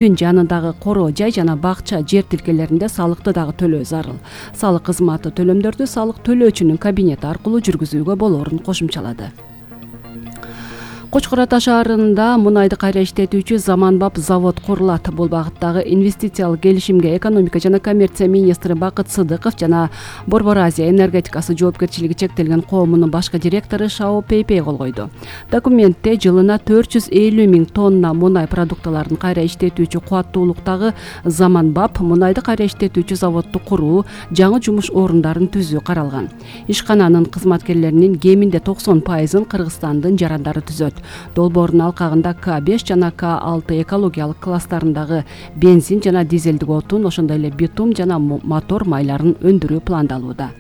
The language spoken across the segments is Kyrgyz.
үйдүн жанындагы короо жай жана бакча жер тилкелеринде салыкты дагы төлөө зарыл. Салык кызматы төлөмдөрдү салык төлөөчүнүн кабинети аркылуу жүргүзүүгө болоорун кошумчалады. Кочкор Ата шаарында мунайды кайра иштетүүчү заманбап завод курулат. Бул багыттагы инвестициялык келишимге экономика жана коммерция министри Бакыт Сыдыков жана Борбор Азия энергетикасы жоопкерчилиги чектелген коомунун башкы директору Шао Пейпей кол койду. Документте жылына 450 миң тонна мунай продуктыларын кайра иштетүүчү кубаттуулуктагы заманбап мунайды кайра иштетүүчү заводду куруу, жаңы жумуш орундарын түзүү каралган. Ишкананын кызматкерлеринин кеминде 90%-ын Кыргызстандын жарандары түзөт. Долбоордун алкагында К5 жана К6 экологиялык класстарындагы бензин жана дизелдик отун, ошондой эле битум жана мотор майларын өндүрүү пландалууда.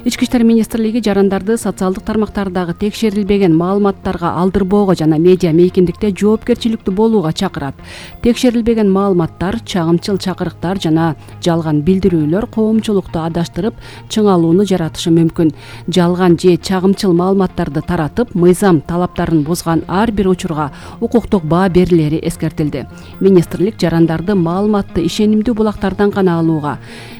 Ички иштер министрлиги жарандарды социалдык тармактардагы текшерилбеген маалыматтарга алдырбоого жана медиа мейкиндикте жоопкерчиликтүү болууга чакырат. Текшерилбеген маалыматтар, чагымчыл чакырыктар жана жалган билдирүүлөр коомчулукту адаштырып, чыңалууну жаратышы мүмкүн. Жалган же чагымчыл маалыматтарды таратып, мыйзам талаптарын бузган ар бир учурга укуктук баа берилери эскертилди. Министрлик жарандарды маалыматты ишенимдүү булактардан гана алууга,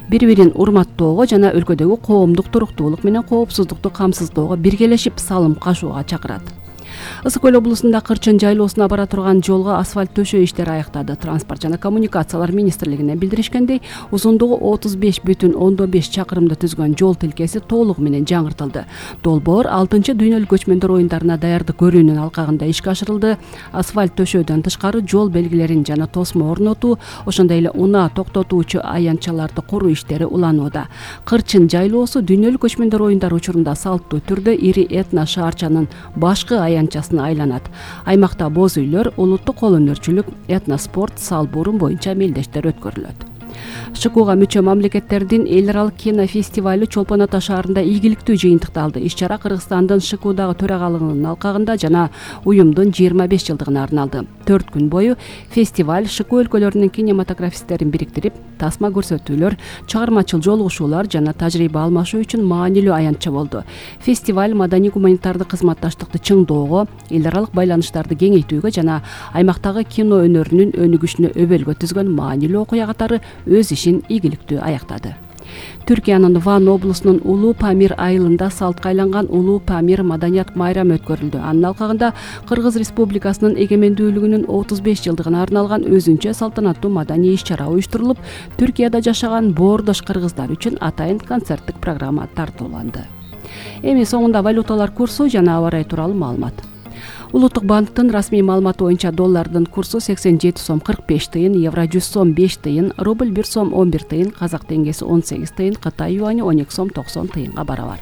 бири-бирин урматтоого жана өлкөдөгү коомдук туруктуулук менен коопсуздукту камсыздоого биргелешип салым кошууга чакырат. Ысык Көл облусунда Кырчын жайлоосуна бара турган жолго асфальт төшөө иштери аяктады. Транспорт жана коммуникациялар министрлигинен билдиришкендей, узундугу 35,5 чакырымды түзгөн жол тилкеси толугу менен жаңыртылды. Долбоор 6-чы дүйнөлүк көчмөндөр оюндарына даярдык көрүүнүн алкагында ишке ашырылды. Асфальт төшөөдөн тышкары жол белгилерин жана тосмо орнотуу, ошондой эле унаа токтотуучу аянтчаларды куруу иштери уланууда. Кырчын жайлоосу дүйнөлүк көчмөндөр оюндары учурунда салттуу түрдө ири этно шаарчанын башкы аянтчасына айланат. Аймакта боз үйлөр, улуттук кол өнөрчүлүк, этноспорт, салбурум боюнча мелдештер өткөрүлөт. ШКУга мүчө мамлекеттердин эл аралык кинофестивалю Чолпон Ата шаарында ийгиликтүү жыйынтыкты алды. Иш-чара Кыргызстандын ШКУдагы төрагалыгынын алкагында жана уюмдун 25 жылдыгына арналды. 4 күн бою фестиваль ШКУ өлкөлөрүнүн кинематографисттерин бириктирип, тасма көрсөтүүлөр, чыгармачыл жолугушуулар жана тажрыйба алмашуу үчүн маанилүү аянтча болду. Фестиваль маданий-гуманитардык кызматташтыкты чыңдоого, эл аралык байланыштарды кеңейтүүгө жана аймактагы кино өнөрүнүн өнүгүшүнө өбөлгө түзгөн маанилүү окуя катары өз ишин ийгиликтүү аяктады. Түркиянын Ван облусунун Улуу Памир айылында салтка айланган Улуу Памир маданият майрамы өткөрүлдү. Анын алкагында Кыргыз Республикасынын эгемендүүлүгүнүн 35 жылдыгына арналган өзүнчө салтанаттуу маданий иш-чара уюштурулуп, Түркияда жашаган боордош кыргыздар үчүн атайын концерттик программа тартууланды. Эми соңунда валюталар курсу жана аба ырайы тууралуу маалымат. Улуттук банктын расмий маалыматы боюнча доллардын курсу 87 сом 45 тыйын, евро 100 сом 5 тыйын, рубль 1 сом 11 тыйын, казак теңгеси 18 тыйын, Кытай юани 12 сом 90 тыйынга барабар.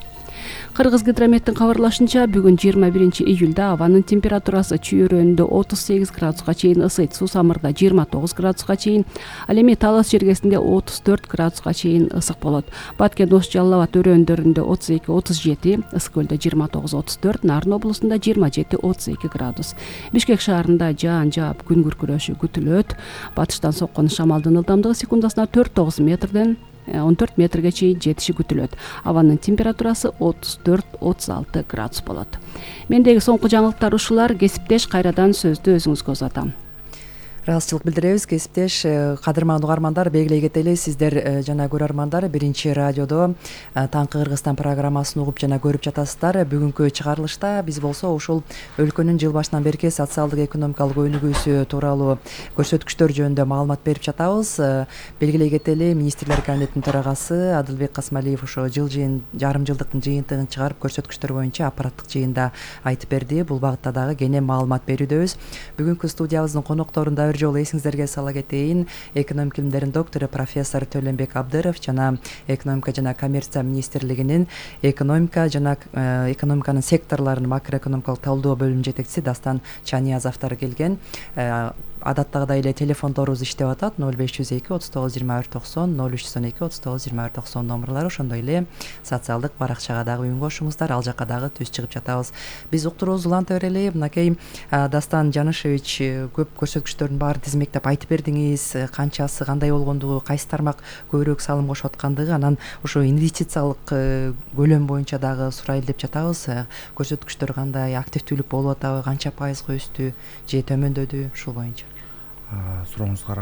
Кыргыз гидрометтин кабарлашынча, бүгүн 21 июлда абанын температурасы чүйөрөндө 38 градуска чейин ысыйт, Сусамырда 29 градуска чейин, ал эми Талас жергесинде 34 градуска чейин ысык болот. Баткен Ош Жалал Абад өрөөндөрүндө 32-37, Ысык Көлдө 29-34, Нарын облусунда 27-32 градус. Бишкек шаарында жаан жаап күн күркүрөшү күтүлөт. Батыштан соккон шамалдын ылдамдыгы секундасына 4-9 метрден 14 метрге чейин жетиши күтүлөт. Абанын температурасы 34-36 градус болот. Мендеги соңку жаңылыктар ушулар. Кесиптеш, кайрадан сөздү өзүңүзгө узатам. Ыраазычылык билдиребиз. Кесиптеш, кадырман угармандар, белгилей кетели, сиздер жана көрөрмандар биринчи радиодо Таңкы Кыргызстан программасын угуп жана көрүп жатасыздар. Бүгүнкү чыгарылышта биз болсо ушул өлкөнүн жыл башынан берки социалдык экономикалык өнүгүүсү тууралуу көрсөткүчтөр жөнүндө маалымат берип жатабыз. Белгилей кетели, министрлер кабинетинин төрагасы Адылбек Касмалиев ошо жарым жылдыктын жыйынтыгын чыгарып, көрсөткүчтөр боюнча аппараттык жыйында айтып берди. Бул багытта дагы кенен маалымат берүүдөбүз. Бүгүнкү студиябыздын конокторунда жолу эсиңиздерге сала кетейин, экономика илимдеринин доктору профессор Төлөнбек Абдыров жана экономика жана коммерция министрлигинин экономиканын секторлорунун макроэкономикалык талдоо бөлүмүнүн жетекчиси Дастан Чаниязовдор келген. Адаттагыдай эле телефондорубуз иштеп атат. 0502 39 24 90, 0312 39 24 90 номерлары, ошондой эле социалдык баракчага дагы үн кошуңуздар, ал жакка дагы түз чыгып жатабыз. Биз уктуруубузду уланта берели. Мынакей Дастан Жанышевич, көп көрсөткүчтөрдүн баарын тизмектеп айтып бердиңиз. Канчасы кандай болгондугу, кайсы тармак көбүрөөк салым кошуп аткандыгы, анан ошо инвестициялык көлөм боюнча дагы сурайлы деп жатабыз. Көрсөткүчтөр кандай, активдүүлүк болуп атабы, канча пайызга өстү же төмөндөдү, ушул боюнча. сурооңузга